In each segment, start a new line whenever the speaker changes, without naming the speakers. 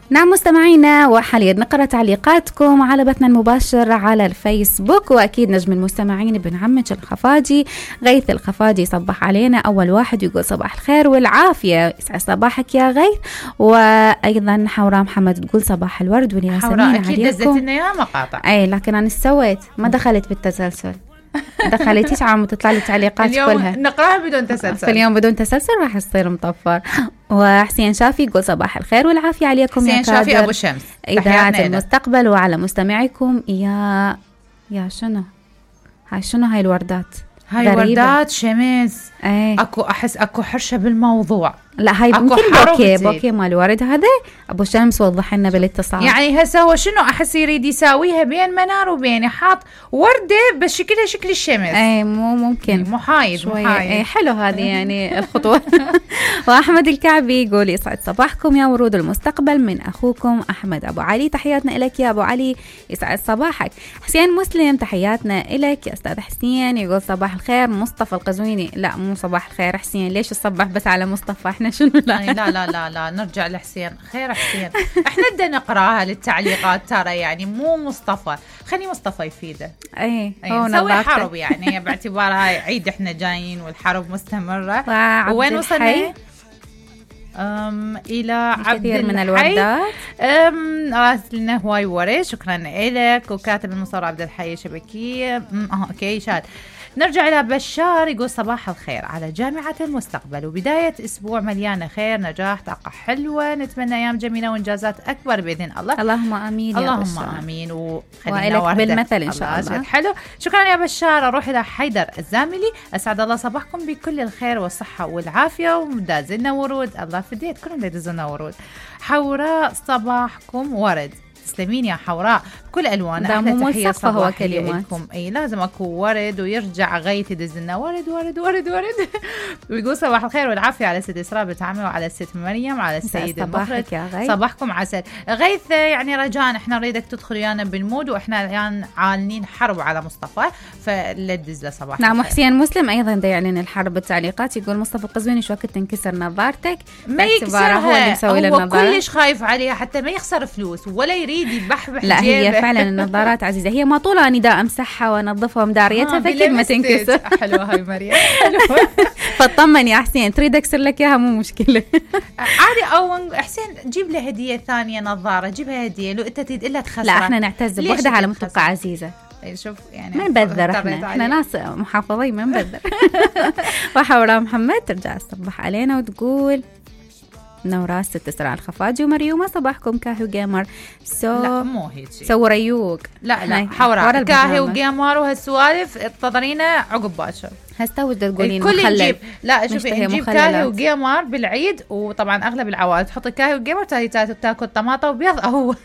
نعم مستمعينا، وحاليا نقرأ تعليقاتكم على بثنا المباشر على الفيسبوك. وأكيد نجم المستمعين بن عمج الخفاجي غيث الخفاجي صبح علينا أول واحد، يقول صباح الخير والعافية، يسعد صباحك يا غيث. وأيضا حوراء محمد تقول صباح الورد والياسمين عليكم.
حوراء أكيد دزت لنا يا مقاطع.
أي لكن أنا سويت ما دخلت بالتسلسل. دخلتيش عم تطلع لي تعليقات كلها
نقراها بدون تسلسل.
في اليوم بدون تسلسل راح يصير مطفر. وحسين شافي يقول صباح الخير والعافية عليكم يا
حسين شافي أبو شمس
إذاعة المستقبل وعلى مستمعيكم. يا شنو هاي الوردات؟
هاي وردات شمس. اكو احس اكو حرشه بالموضوع.
لا هاي ممكن بوكي مال ورد هذا. ابو شمس وضح لنا بالاتصال.
يعني هسه هو شنو احس يريد يساويها بين منار وبين حاط ورده بس شكلها شكل الشمس.
مو ممكن
محايد.
حلو هذه يعني الخطوه. واحمد الكعبي يقول يسعد صباحكم يا ورود المستقبل من اخوكم احمد ابو علي. تحياتنا لك يا ابو علي، يسعد صباحك. حسين مسلم تحياتنا لك يا استاذ حسين، يقول صباح الخير. مصطفى القزويني لا مو صباح الخير حسين، ليش تصبح بس على مصطفى؟ احنا شنو
لا نرجع لحسين. خير حسين، احنا بدنا نقراها للتعليقات ترى، يعني مو مصطفى، خلي مصطفى يفيده. نسوي حرب يعني باعتبارها عيد احنا جايين والحرب مستمره. وين وصلنا؟ الى عبد
كثير من الوردات.
راسلنا هواي ورد، شكرا لك. وكاتب المصور عبد الحي شبكيه. اوكي شاد. نرجع إلى بشار يقول صباح الخير على جامعة المستقبل، وبداية أسبوع مليانة خير نجاح طاقة حلوة، نتمنى أيام جميلة وإنجازات أكبر بإذن الله.
اللهم آمين.
اللهم آمين.
وإلك بالمثل إن شاء الله.
حلو، شكرا يا بشار. أروح إلى حيدر الزاملي، أسعد الله صباحكم بكل الخير والصحة والعافية، ودازلنا ورود. الله فديت كلهم يدزلنا ورود. حوراء صباحكم ورد. تسلمين يا حوراء بكل الوان.
احلى تحيه صباحيه
لكم. لازم اكو ورد، ويرجع غيث يدزلنا ورد ورد ورد ورد. ويقول صباح الخير والعافيه على ست اسراء بتعامل، وعلى الست مريم، على السيد المخرج. صباحكم عسل. غيث يعني رجاء احنا نريدك تدخل ويانا بالمود، واحنا الان عالنين حرب على مصطفى، فلا تدز له صباح.
نعم. حسين مسلم ايضا دا يعلن الحرب بالتعليقات، يقول مصطفى القزويني شو وقت تنكسر نظارتك؟
ما يكسرها،
هو اللي مسوي له النظاره،
كلش خايف عليها حتى ما يخسر فلوس ولا يريد يبحبح.
لا هي فعلا النظارات عزيزة، هي ما طولها أني دا أمسحها وأنظفها ومداريتها فكيف ما تنكسر.
حلوة هاي مريم، حلوة.
فطمن يا حسين، تريد أكسر لك إياها مو مشكلة.
عادي. أو حسين جيب له هدية ثانية نظارة، جيبها هدية لو أنت تريد إلا تخسرها.
لا احنا نعتز بوحدة على متبقى عزيزة.
شوف يعني
ما نبذر، احنا ناس محافظين ما نبذر. وحوراء محمد ترجع تصبح علينا وتقول نوراس ست اسراء الخفاجي ومريومه صباحكم كاهي وجيمر.
لا مو هيك
سو ريوق.
لا حوراء كاهي وجيمر وهالسوالف انتظرينا عقب باشر.
هسه ودا تقولين
الكل يجيب. لا شوفي نجيب كاهي وجيمر بالعيد، وطبعا اغلب العوائل تحط كاهي وجيمر تاكل طماطه وبيض هو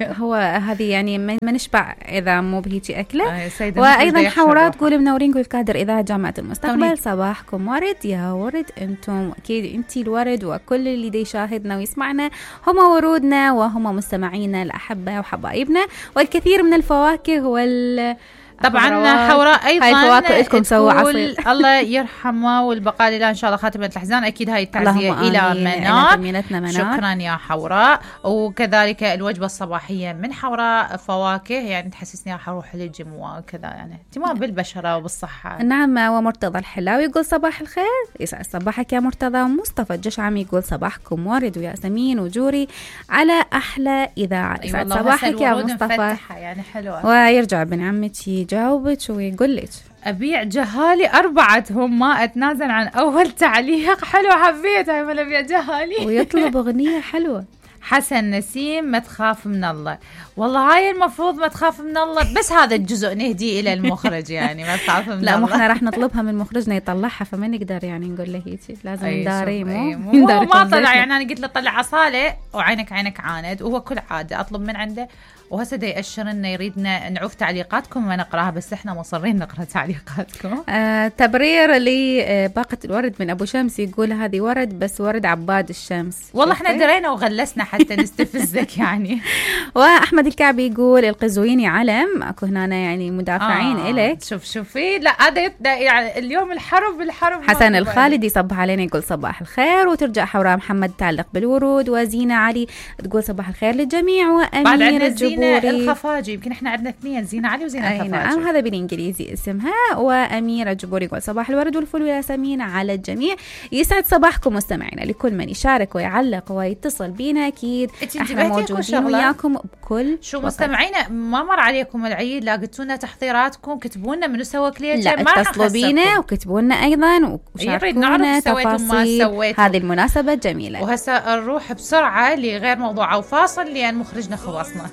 هو هذه يعني ما نشبع اذا مو بهيجي اكله. وايضا حوراء تقول منورين الكادر اذاعه جامعه المستقبل. صباحكم ورد يا ورد، انتم اكيد انتي الورد، وكل اللي دي يشاهدنا ويسمعنا هم ورودنا وهم مستمعينا الاحبه وحبايبنا، والكثير من الفواكه
طبعا حوراء ايضا
هاي الفواكه لكم سووا عصير.
الله يرحمه والبقاء لله ان شاء الله خاتمه الاحزان. اكيد هاي التعزيه الى منار. شكرا يا حوراء. وكذلك الوجبه الصباحيه من حوراء فواكه، يعني تحسسني راح اروح للجيم وكذا، يعني اهتمام بالبشره وبالصحه.
نعم. ومرتضى الحلاوي يقول صباح الخير، يسعد صباحك يا مرتضى. ومصطفى الجشعمي يقول صباحكم ورد وياسمين وجوري على احلى اذاعه. يسعد صباحك يا مصطفى.
يعني حلوه.
ويرجع ابن عمتي يجاوبك ويقول لك
أبيع جهالي 4 ما أتنازل عن أول تعليق. حلو، حبيت هاي من أبيع جهالي.
ويطلب أغنية حلوة.
حسن نسيم ما تخاف من الله. والله هاي المفروض ما تخاف من الله، بس هذا الجزء نهدي إلى المخرج، يعني ما تخاف من
لا
الله.
لا احنا راح نطلبها من مخرجنا يطلعها، فما نقدر يعني نقول له هيك، لازم نداري.
مو ما طلع، يعني أنا قلت له طلع عصالة وعينك عاند، وهو كل عادة أطلب من عنده وهسه دا يأشر انه يريدنا نعوف تعليقاتكم ونقراها، بس احنا مصرين نقرا تعليقاتكم.
تبرير لباقة الورد من ابو شمس، يقول هذه ورد بس ورد عباد الشمس.
والله احنا درينا وغلسنا حتى نستفزك يعني.
واحمد الكعبي يقول القزويني علم، اكو هنا يعني مدافعين الك.
شوفي لا هذا يعني اليوم الحرب
حسن الخالدي يصبح علينا يقول صباح الخير، وترجع حوراء محمد تعلق بالورود، وزينة علي تقول صباح الخير للجميع، وأميرة الجبوري
الخفاجي، يمكن احنا عندنا اثنين، زينة علي وزينة الخفاجي.
نعم هذا بالانجليزي اسمها. وأميرة الجبوري يقول صباح الورد والفل والياسمين على الجميع. يسعد صباحكم مستمعينا، لكل من يشارك ويعلق ويتصل بينا اكيد احنا موجودين وياكم بكل
شو مستمعينا. ما مر عليكم العيد لاقيتونا تحضيراتكم، كتبوا لنا منو سوى كليتشر،
لا اتصلوا بينا وكتبوا لنا ايضا وشاركونا تفاصيل هذه المناسبة الجميلة.
وهسه نروح بسرعة لغير موضوع او فاصل لان مخرجنا خلصنا.